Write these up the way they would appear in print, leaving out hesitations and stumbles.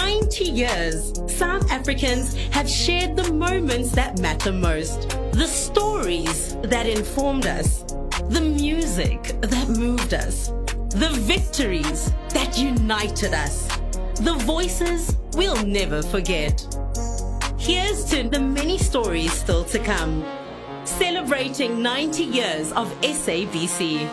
90 years, South Africans have shared the moments that matter most, the stories that informed us, the music that moved us, the victories that united us, the voices we'll never forget. Here's to the many stories still to come. Celebrating 90 years of SABC.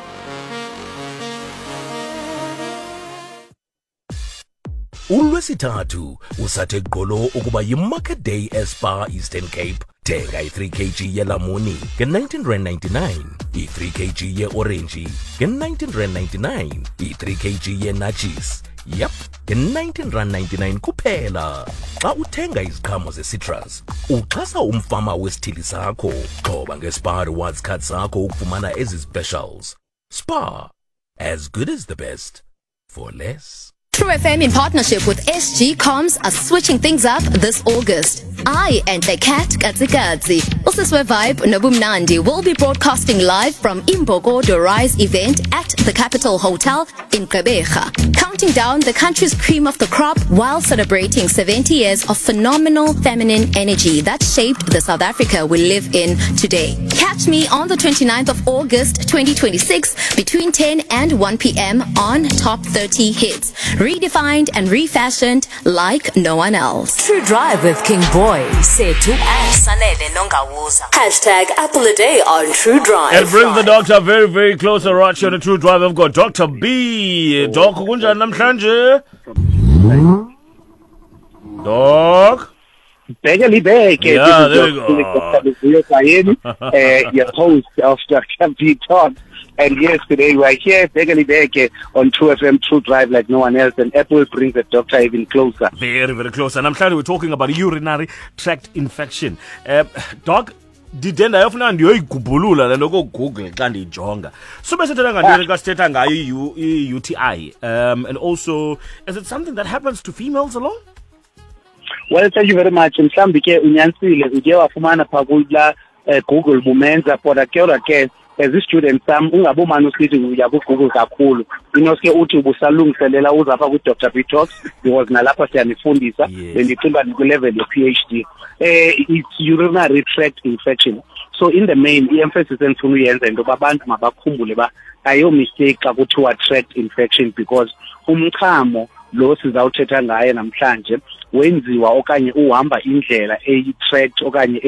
Ulwesithathu usathe gqolo ukuba yimarket day eSpar Eastern Cape. Thenga i-3 kg yelamuni nge-19.99, i-3 kg ye-orenji nge-19.99, i-3 kg ye-natchis yep nge-19.99 kuphela. Xa uthenga iziqhamo ze-citrus, uxhasa umfama wesithili sakho. Xhoba nge-Spar Rewards card sakho ukufumana ezi specials. Spar, as good as the best for less. True FM in partnership with SG Comms are switching things up this August. I and the cat Katsikatsi, Usiswe Vibe Nobumnandi will be broadcasting live from Imbokodo Rise event at the Capital Hotel in Gqeberha, counting down the country's cream of the crop while celebrating 70 years of phenomenal feminine energy that shaped the South Africa we live in today. Catch me on the 29th of August 2026 between 10 and 1 p.m. on Top 30 Hits. Redefined and refashioned like no one else. True Drive with King Boy, Sethu and Sanele Nongawuza. Hashtag Apple a Day on True Drive. It brings the doctor very, very close. Right here on the True Drive, I've got Dr. B. Doc, kunjani namhlanje? Doc? Bheke libheke. Yeah, there we go. Vuyo Kayeni, your host of Dr. B Talk. And yes, today we are here, Bheke libheke, on True FM, True Drive like no one else. And Apple brings the doctor even closer. Very, very close. And namhlanje we're talking about urinary tract infection. Doc, ndide ndayofuna ndiyoyigubhulula le nto koGoogle xa ndiyijonga. Sube sithetha ngantoni xa sithetha ngayo i-UTI? And also, is it something that happens to females alone? Well, thank you very much. Mhlawumbi ke unyanisile, uye wafumana phaa kulaa Google bumenza, kodwa ke kodwa ke as i-student sam ungabomane usithi uya kuGoogle kakhulu. Inoske uthi ubusalungiselela uza apha kwi-Dr. B Talks, because nalapha siyanifundisa. Bendicinga uba ndikwi-level ye-PhD. It's urinary tract infection. So in the main, i-emphasis endifuna uyenza into yoba abantu mabakhumbule uba ayo mistake xa kuthiwa tract infection, because umchamo lo sizawuthetha ngaye namhlanje wenziwa okanye uhamba indlela eyi-tract okanye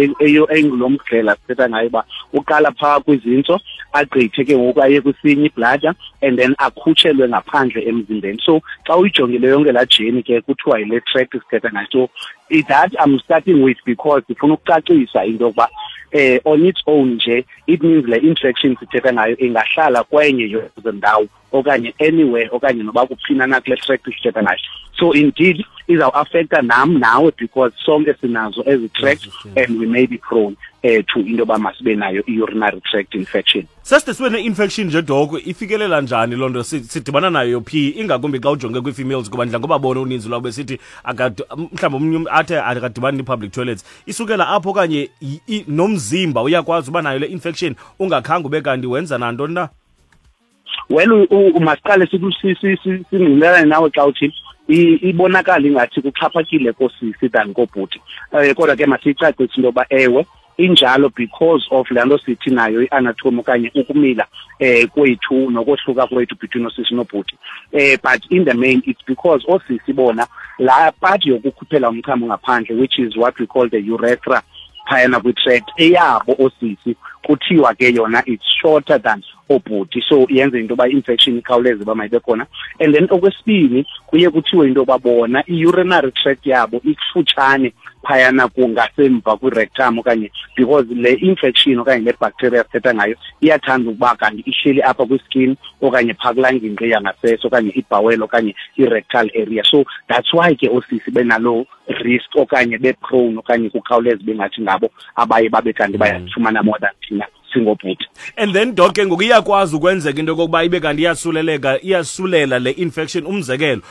engulo mdlela sithetha ngayo uba uqala phaa kwizintso, agqithe ke ngoku aye kwisinye ibladder, and then akhutshelwe ngaphandle emzimbeni. So xa uyijongile yonke laa journey ke kuthiwa yile tract sithetha ngayo. So that I'm starting with because ndifuna ukucacisa into yokuba on its own nje it means le infection sithetha ngayo ingahlala kwenye yezo ndawo okanye anywhere okanye noba kuphina na kule tract sithetha ngayo. So indeed izawuaffecta nam nawe because sonke sinazo ezi tract and we may be prone to into yoba masibe nayo i-urinary tract infection. Seside sibe ne-infection nje, Doc, ifikelela njani loo nto? Sidibana nayo phi, ingakumbi xa ujonge kwii-females, kuba ndidla ngoba bona uninzi lwabo besithi mhlawumbi omnye umntu athe akadibani nee-public toilets. Isukela apho okanye nomzimba uyakwazi uba nayo le infection ungakhange ube kanti wenza nantoni na? Well, masiqale singqinelane nawe xa uthi ibonakala ingathi kuxhaphakile koosisi than koobhuti. Kodwa ke masiyicacise into yoba ewe injalo because of le nto sithi nayo i-anatomy okanye ukumila kwethu nokohluka kwethu between oosisi noobhuti. But in the main it's because oosisi bona laa part yokukhuphela umchamo ngaphandle, which is what we call the urethra phayana kwi-tract eyabo oosisi, kuthiwa ke yona it's shorter than oobhuti, so yenze into yoba i-infection ikhawuleze uba mayibe khona. And then okwesibini kuye kuthiwe into yoba bona i-urinary tract yabo ikufutshane phayana kungasemva kwi-rectum, okanye because le infection okanye le bacteria sithetha ngayo iyathanda ukuba kanti ihleli apha kwi-skin okanye phaa kulaa ngingqi yangasese okanye ibhawele okanye i-rectal area. So that's why ke oosisi benaloo risk okanye be-prone okanye kukhawuleze bengathi ngabo abaye babe kanti bayafumana more than thina singobhuti. And then Doc, ke ngoku iyakwazi ukwenzeka into yokokuba ibe kanti iyasuleleka, iyasulela le infection, umzekelo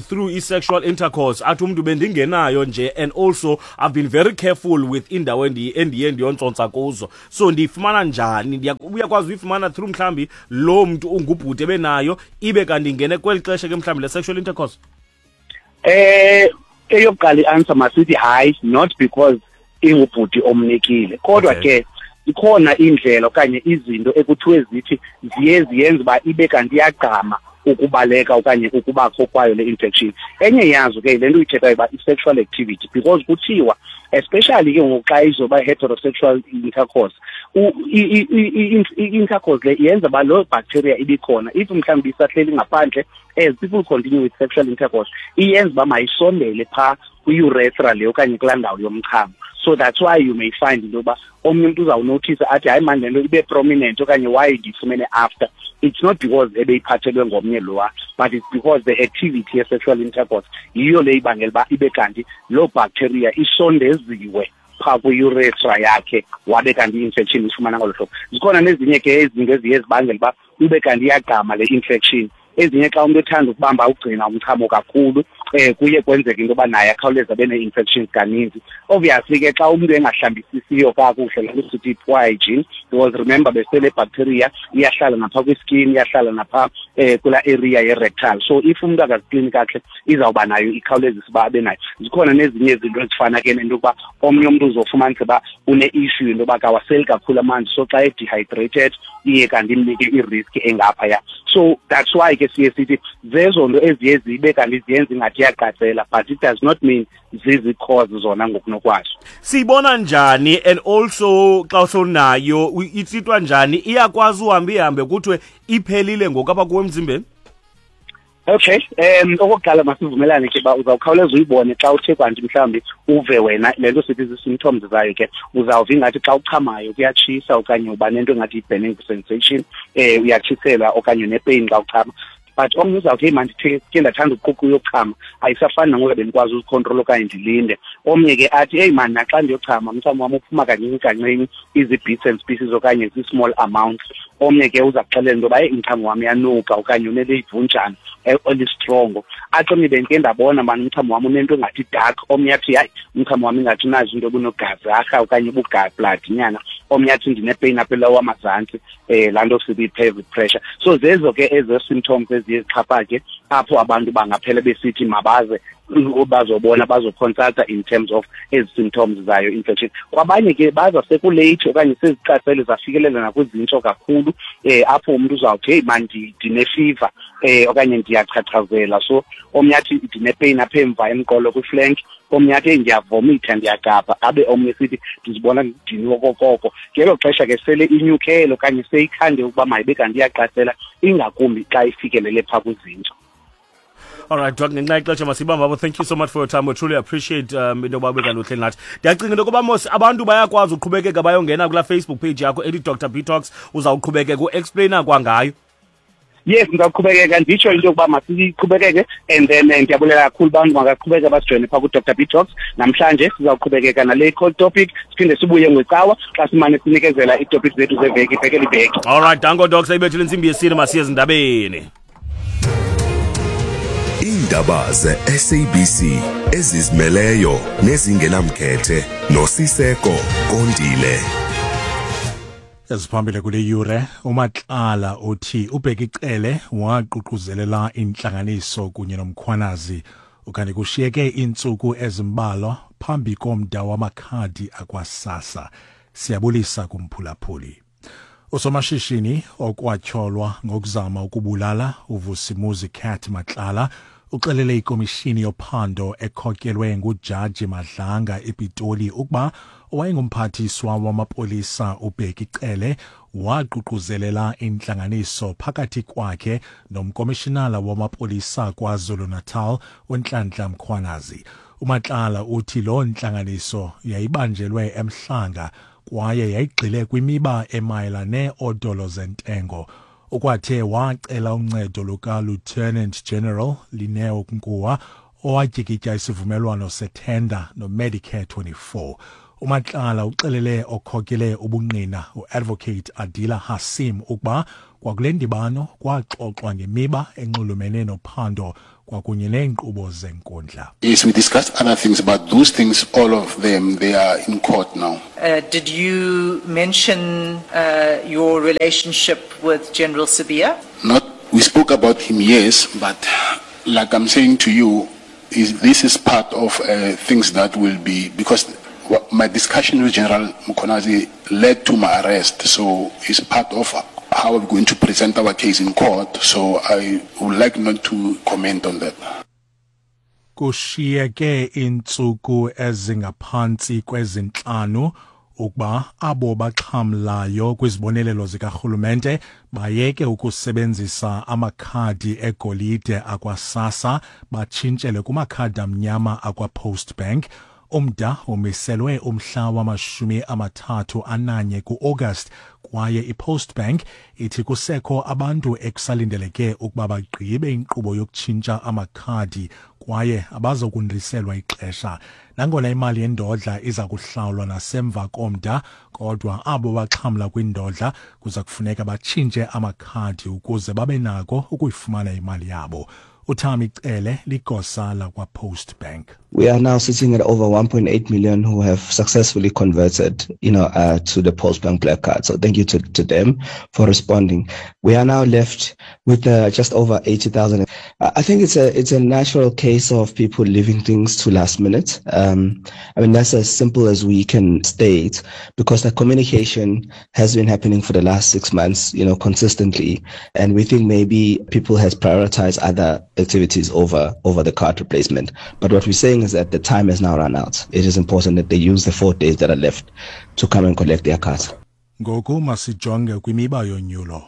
through i-sexual intercourse, athi umntu bendingenayo nje, and also I've been very careful with indawo endiye ndiyontsontswa kuzo, so ndiyifumana njani? Uyakwazi uyifumana through mhlawumbi loo mntu ungubhuti ebenayo, ibe kanti ingene kweli xesha ke mhlawumbi le sexual intercourse? Eyokuqala i-answer masithi hayi, not because ingubhuti omnikile, kodwa ke ikhona indlela okanye izinto ekuthiwe zithi ziye ziyenze uba ibe kanti iyagqama ukubaleka okanye ukubakho kwayo le infection. Enye yazo ke le nto uyithethayo uba i-sexual activity, because kuthiwa especially ke ngoku xa izoba heterosexual intercourse, i-intercourse le yenza uba loo bacteria ibikhona, if mhlawumbi isahleli ngaphandle, as people continue with sexual intercourse, iyenza uba mayisondele phaa kwi-urethra le okanye kulaa ndawo yomchamo. So that's why you may find into yoba omnye umntu uzawunothisa athi, hayi mani, le nto ibe prominent okanye why ndiyifumene after. It's not because ebeyiphathelwe ngomnye lowa, but it's because the activity ye-sexual intercourse yiyo le ibangela uba ibe kanti loo bacteria isondeziwe phaa kwi-urethra yakhe, wabe kanti i-infection ifumana ngolo hlobo. Zikhona nezinye ke izinto eziye zibangela uba ube kanti iyagqama le infection. Ezinye, xa umntu ethanda ukubamba ugcina umchamo kakhulu, kuye kwenzeka into yoba naye akhawuleze abe nee-infections kaninzi. Obviously ke xa umntu engahlambisisiyo kakuhle, laa nto sithi poor hygiene, because remember besele bacteria iyahlala naphaa kwi-skin, iyahlala naphaa kulaa area ye-rectal. So if umntu akaziklini kakuhle, izawuba nayo, ikhawulezise uba abe nayo. Zikhona nezinye izinto ezifana ke nento yokuba omnye umntu uzofumanisa uba une-issue into yoba kawaseli kakhulu amanzi, so xa e-dehydrated iye kanti imnike i-risk engaphaya. So that's why ke siye sithi zezo nto eziye zibe kanti ziyenza ingathi iyaqatsela, but it does not mean zizi-cause zona ngokunokwazo. Siyibona njani, and also xa sowunayo itsitwa njani? Iyakwazi uhambe ihambe kuthiwe iphelile ngoku apha kuwe emzimbeni? Okay, okokuqala masivumelane ke uba uzawukhawuleza uyibone xa uthe kwanti mhlawumbi uve wena le nto sithi zii-symptoms zayo ke. Uzawuva ingathi xa uchamayo kuyatshisa, okanye uba nento engathi yi-burning sensation, uyatshiselwa okanye une-pain xa uchama. But omnye uzawuthi, heyi mandithe ke ndathanda ukuquqa uyochama, ayisafani nangoku bendikwazi uzikhontrola okanye ndilinde. Omnye ke athi, heyi mani, naxa ndiyochama umchamo wam uphuma kancinci kancinci, izi-bits and pieces okanye zii-small amounts. Omnye ke uza kuxelela into yoba, heyi, umchamo wam uyanuka okanye uneleyivunjana elistrongo. Athi omnye, bendike ndabona mani umchamo wam unento engathi dark. Omnye athi, hayi, umchamo wam ingathi unazo into obunogazi okanye ubugabladinyana. Omnye athi ndine-pain apha elawo amazantsi, laa nto sithi i-pelvic pressure. So zezo ke ezo symptoms eziye zixhaphake apho abantu bangaphela besithi mabaze bazobona, bazoconsulta in terms of ezi symptoms zayo infection. Kwabanye ke baza sekulate okanye seziqatsele zafikelela nakwizintsho kakhulu, apho umntu uzawuthi, heyi man, ndine-fever okanye ndiyachachazela. So omnye athi ndine-pain apha emva emqolo kwi-flank, omnye athi, heyi, ndiyavomitha, ndiyagabha, abe omnye sithi ndizibona ndidiniwe okokoko. Ngelo xesha ke sele inyukele okanye seyikhande ukuba mayibe kanti iyaqatsela, ingakumbi xa ifikelele phaa kwizintso. All right, Doc, ngenxa yexesha masibambe apho. Thank you so much for your time. We truly appreciate into yoba ube kanti uhleli nathi. Ndiyacinga into yokuba mos abantu bayakwazi uqhubekeka bayongena kulaa Facebook page yakho ethi Dr B Talks, uzawuqhubekeka uexplaina kwangayo. Yes, ndizawuqhubekeka nditsho into yokuba masiqhubekeke, and then ndiyabulela kakhulu, bantu makaqhubeke basijoyine phaa ku-Dr B Talks. Namhlanje sizawuqhubekeka nale cold topic, siphinde sibuye ngecawa xa simane sinikezela iitopic zethu zeveki, ibhekele ibheki. All right, danko Doc, sayibethile intsimbi yesine, masiye ezindabeni. Iindaba ze-SABC ezizimeleyo nezingenamkhethe noSiseko Kondile. Eziphambili kule yure: uMatlala uthi uBheki Cele waququzelela intlanganiso kunye noMkhwanazi, ukanti kushiyeke iintsuku ezimbalwa phambi komda wamakhadi akwaSASSA. Siyabulisa kumphulaphuli. Usomashishini okwatyholwa ngokuzama ukubulala uVusimuzi Cat Matlala uxelele ikomishini yophando ekhokelwe nguJaji Madlanga ePitoli ukuba owayengumphathiswa wamapolisa uBheki Cele waququzelela intlanganiso phakathi kwakhe nomkomishinala wamapolisa KwaZulu-Natal uNhlanhla Mkhwanazi. UMatlala uthi loo ntlanganiso yayibanjelwe eMhlanga kwaye yayigxile kwimiba emayela neeodolo zentengo. Ukwathe wacela uncedo luka-Lieutenant General Lineo Nkuwa owatyikitya isivumelwano sethenda noMedicare 24. UMatlala uxelele okhokele ubungqina uadvocate Adila Hassim ukuba kwakule ndibano kwaxoxwa ngemiba enxulumene nophando kwakunye neenkqubo zenkundla. Yes, we discussed other things, but those things, all of them, they are in court now. Did you mention your relationship with General Sibiya? Not, we spoke about him, yes, but like I'm saying to you, Is, this is part of uh, things that will be, because my discussion with General Mkhwanazi led to my arrest, so it's part of how we're going to present our case in court, so I would like not to comment on that. Kushiyeke iintsuku ezingaphantsi kwezintlanu ukuba abo baxhamlayo kwizibonelelo zikarhulumente bayeke ukusebenzisa amakhadi egolide akwaSASSA batshintshele kumakhadi amnyama akwaPost Bank. Umda umiselwe umhla wamashumi amathathu ananye ku-August kwaye iPost Bank ithi kusekho abantu ekusalindeleke ukuba bagqibe inkqubo yokutshintsha amakhadi kwaye abazokundliselwa ixesha. Nangona imali yendodla iza kuhlawulwa nasemva komda, kodwa abo baxhamla kwindodla kuza kufuneka batshintshe amakhadi ukuze babe nako ukuyifumana imali yabo. uThami Cele ligosa lakwaPost Bank. We are now sitting at over 1.8 million who have successfully converted, you know, uh, to the Postbank Black Card. So thank you to, to them for responding. We are now left with uh, just over 80,000. I think it's a it's a natural case of people leaving things to last minute. Um, I mean, that's as simple as we can state because the communication has been happening for the last six months, you know, consistently. And we think maybe people has prioritized other activities over over the card replacement. But what we're saying is that the time has now run out. It is important that they use the four days that are left to come and collect their cards. Ngoku masijonge kwimiba yonyulo.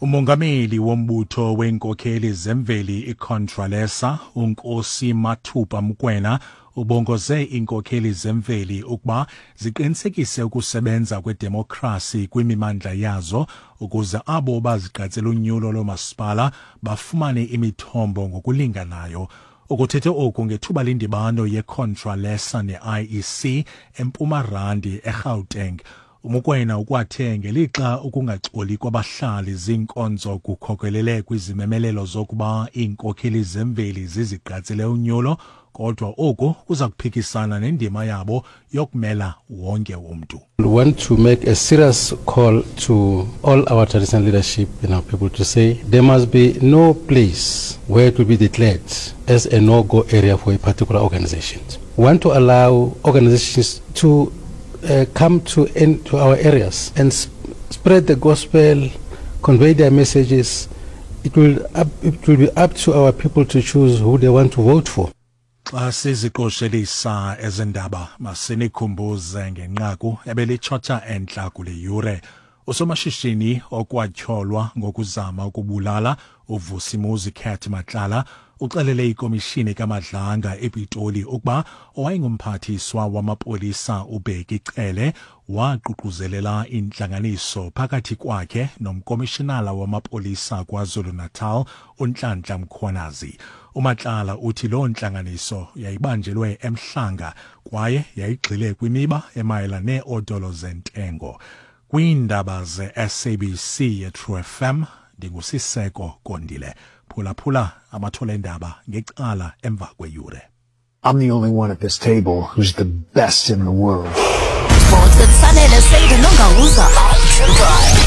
Umongameli wombutho weenkokheli zemveli iContralesa uNkosi Mathupa Mokoena ubongoze iinkokheli zemveli ukuba ziqinisekise ukusebenza kwedemokhrasi kwimimandla yazo ukuze abo bazigqatsela unyulo loomasipala bafumane imithombo ngokulinganayo. Ukuthethe oku ngethuba lendibano yeContralesa ne-IEC eMpuma Randi eGauteng. UMokoena ukwathe ngelixa ukungaxoli kwabahlali ziinkonzo kukhokelele kwizimemelelo zokuba iinkokheli zemveli zizigqatsele unyulo kodwa oku kuza kuphikisana nendima yabo yokumela wonke umntu. We want to make a serious call to all our traditional leadership and our people to say there must be no place where it will be declared as a no-go area for a particular organization. We want to allow organizations to uh, come to, in, to our areas and sp spread the gospel, convey their messages. It will, up, it will be up to our people to choose who they want to vote for. Xa siziqoshelisa ezendaba masinikhumbuze ngenqaku ebelitshotsha entla kule yure. Usomashishini okwatyholwa ngokuzama ukubulala uVusimuzi Cat Matlala uxelele ikomishini kaMadlanga ePitoli ukuba owayengumphathiswa wamapolisa uBheki Cele waququzelela intlanganiso phakathi kwakhe nomkomishinala wamapolisa KwaZulu-Natal uNhlanhla Mkhwanazi. UMatlala uthi loo ntlanganiso yayibanjelwe eMhlanga kwaye yayigxile kwimiba emayela neeodolo zentengo. Kwiindaba ze-SABC yeTrue FM ndinguSiseko Kondile. Phulaphula amathole endaba ngecala emva kweyure. I'm the only one at this table who's the best in the world. Sports with Sanele Seydu Nongawuza on True Drive.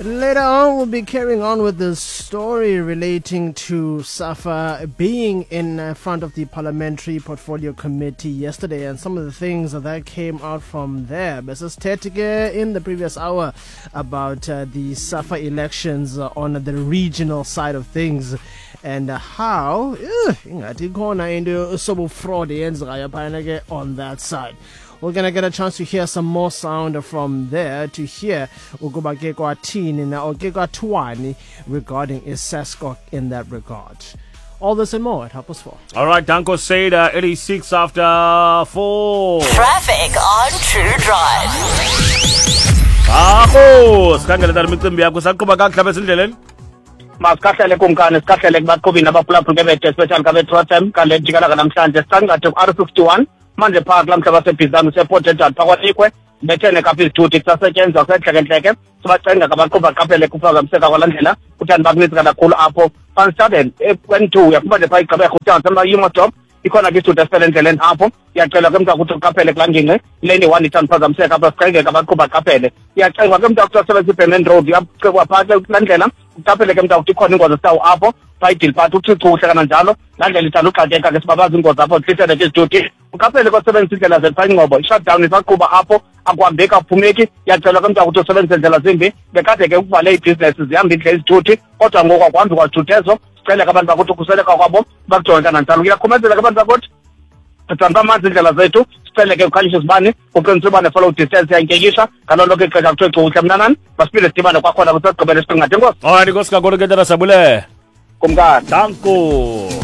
Later on, we'll be carrying on with the story relating to SAFA being in front of the Parliamentary Portfolio Committee yesterday and some of the things that came out from there. Mrs. Tetike in the previous hour about uh, the SAFA elections on the regional side of things and how ingathi ikhona into fraud eyenzekayo phayana ke on that side. We're gonna get a chance to hear some more sound from there to hear ukuba ke kwathini na or ke kwathiwani regarding iSASCOC in that regard. All this and more at 4:30. All right, Danko Seda, 86 after 4. Traffic on True Drive. Akho, sikhangele tata imicimbi yakho saqhuba kakuhle apha ezindleleni. Masikahlele kumkani sikahlele kubaqhubi nabaphulaphuli bebethe especially kabe-True FM kale jikalaka namhlanje sicangathe ku-R 51 manje phaa kulaa mhlaba sebhizana useport edward phaa kwalikwe bethene kapha izithuthi kusasetyenzwa kusentleke-ntleke sibacenga kabaqhuba baqaphele kuphazamiseka kwalaa ndlela kuthani bakunintsi kakhulu apho van staden n2 uyafuma nje phaa igqibekho uthatha amayumastop Ikhona ke isithuthi esifele endleleni apho, iyacelwa ke mntakuthi uqaphele kulaa ngingqi. Lane 1 ithanda uphazamiseka apha, siqengeka abaqhuba aqaphele. Iyacengwa ke mntakuthi asebenzisa iBerlin Road, iyacekwa phaa ke kulaa ndlela, uqaphele ke mntakuthi ikhona ingozi esitawu apho, phaa idiliphathi uthi chuhle kananjalo. Laa ndlela ithanda uxakeka ke, sibabaza ingozi apho, zihlisele ke izithuthi. Uqaphele kwasebenzisa iindlela zethu phaa ingcobo, i-shutdown isaqhuba apho, akuhambeki, akuphumeki. Iyacelwa ke mntakuthi usebenzise ndlela zimbi. Bekade ke ukuvale iibhizinesi, zihamba iindlela izithuthi, kodwa ngoku akuhambi kwazithuthi ezo. Sicele ke abantu bakuthi ukhuseleka kwabo bakujonge kananjalo. Kuyakhumezela ke abantu bakuthi, sithanda amanzi iindlela zethu. Sicele ke ukhanyisa izibane, kuqiniswe uba ne-follow distance iyantyekisha ngalo lonke ixesha. Kuthiwe cukuhle mntanani, masiphinde sidibane kwakhona kwisagqibela esiqingatha. Enkosi. Alright, inkosi kakhulu ke tata, sabule. Kumkani. Danko.